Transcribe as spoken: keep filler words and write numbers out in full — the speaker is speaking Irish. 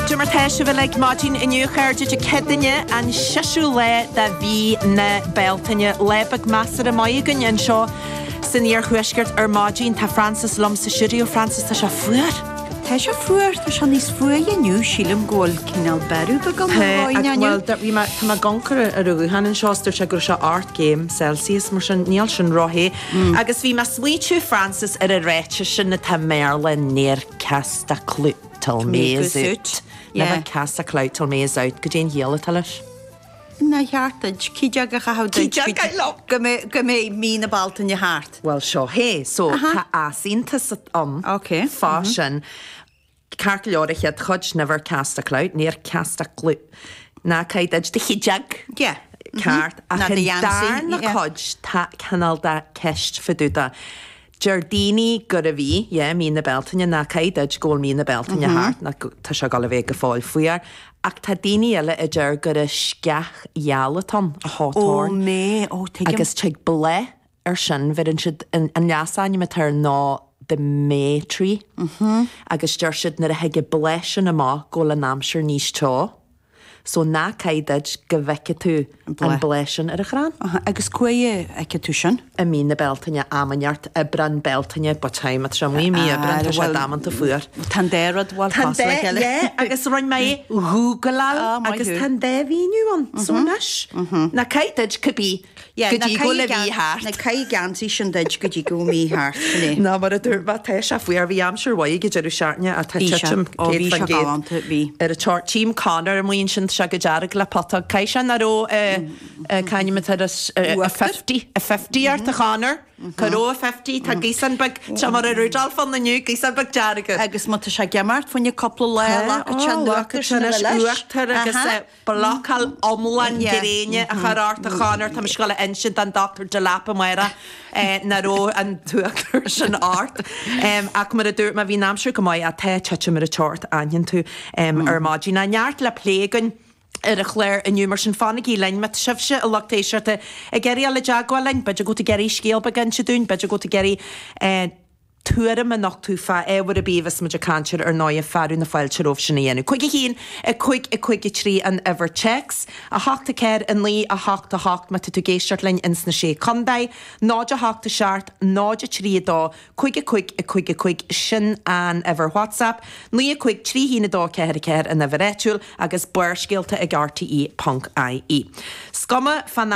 Cad é mar tá sibh uilig maidin inniu a chairde Dé Céadaoine an séú lá de mhí na Bealtaine lá beag measartha maith againn anseo san iarthuaisceart ar maidin tá Francis liom sa stiúideo Francis tá sé fuar. Tá sé fuar tá sé níos fuaire inniu sílim go bhfuil cineál bearú beag Well bhí tá mé ag amharc ar ar an ghuthán anseo dúirt sé go raibh sé ocht gcéim Celsius mar sin níl sin róthe. Agus bhí mé ag smaointiú Francis ar an ráiteas sin atá i mBéarla never cast a clout till May is out. Never cast a clout till May is out, goidé an chiall atá leis. Nár cheart duit cídeach a chaitheamh go go mbeidh mí na Bealtaine thart. Well seo hé, so tá easaontas ann Ok. fá sin. Ceart go leor an chéad chuid never cast a clout, never cast a clout. Ná caith duit do chídeach. Yeah. Ceart ach Ná do an gheansaí, darna yeah. cuid tá cineál de ceist fá dtaobh de. Deir daoine gurb í, yeah, mí na Bealtaine ná caith duit go bhfuil mí na Bealtaine thart ná go- tá sé ag dul a bheith go fóill fuar. Ach tá daoine eile a deir gur an sceach gheal atá ann, a Ó hawthorn. mé ó tuigim. Agus tig bláth ar sin bheireann siad an an leasainm atá air ná the May tree. Agus deir siad nuair a thig an bláth sin amach go bhfuil an aimsir níos teo. So ná caith duit go bhfeicfidh tú an bláth. bláth sin ar an chrann. Aha, Agus cá bhfeicfidh tú sin? I mí na Bealtaine am inteacht Aibreán Bealtaine but time at sé mí mí Aibreán tá sé well, damanta fuar. Tá an dá rud bhfuil Tá cosúil le chéile. yeah, agus rinne mé Googleáil Ah, maith agus thú. tá an dá mhíniú ann. So anois ná caith duit cibé Yeah, go dtí go bhfuil mí thart. Na caith geansaí sin duit go dtí go mí thart sin é. Ná mar a dúirt mé tá sé fuar bhí aimsir mhaith ag deireadh seachtaine atá Bhí sé. titim Ó, bhí sé céad galánta, bhí. ar a teart Tím Conor amuigh ansin sé go dearg le putóg. Caith sé nach raibh c'ainm a fifty a fifty ort a Conor. Cá raibh a fifty tá gíosan beag tá mar a Rudolph an inniu gíosan beag dearg. Agus má tá sé ag imeacht fá choinne cúpla lá leis uachtar agus blocáil iomlán Yeah. gréine a chur ort a Chonor Tá scoil insint an Dr. Delap amárach nach raibh an t-uachtar sin ort. Ach mar a dúirt mé bhí an aimsir go maith atá titim ar an teocht aithníonn tú ar maidin. Na neart le plé againn ar an chlár inniu mar sin fanaigí linn má tá sibhse a lucht éisteachta ag iarraidh le teagmháil linn, b'fhéidir go ag iarraidh scéal beag a inse dúinn, b'fhéidir go ag iarraidh tuairim a nochtadh fá ábhar ar bith bhí muid ag caint air ar ndóigh fearadh na fáilte romhaibh sin a dhéanamh. Cúig a haon a cúig a cúig a trí an uimhir téacs, a hocht a ceathair a naoi a hocht a hocht má tá tú ag éisteacht linn ins na sé contae, náid a hocht a seacht, náid a trí a dó, cúig a cúig a cúig a cúig sin an uimhir WhatsApp, naoi a cúig trí haon a dó ceathair a ceathair an uimhir áitiúil agus barrscéalta ag RTE.ie. Is cuma fan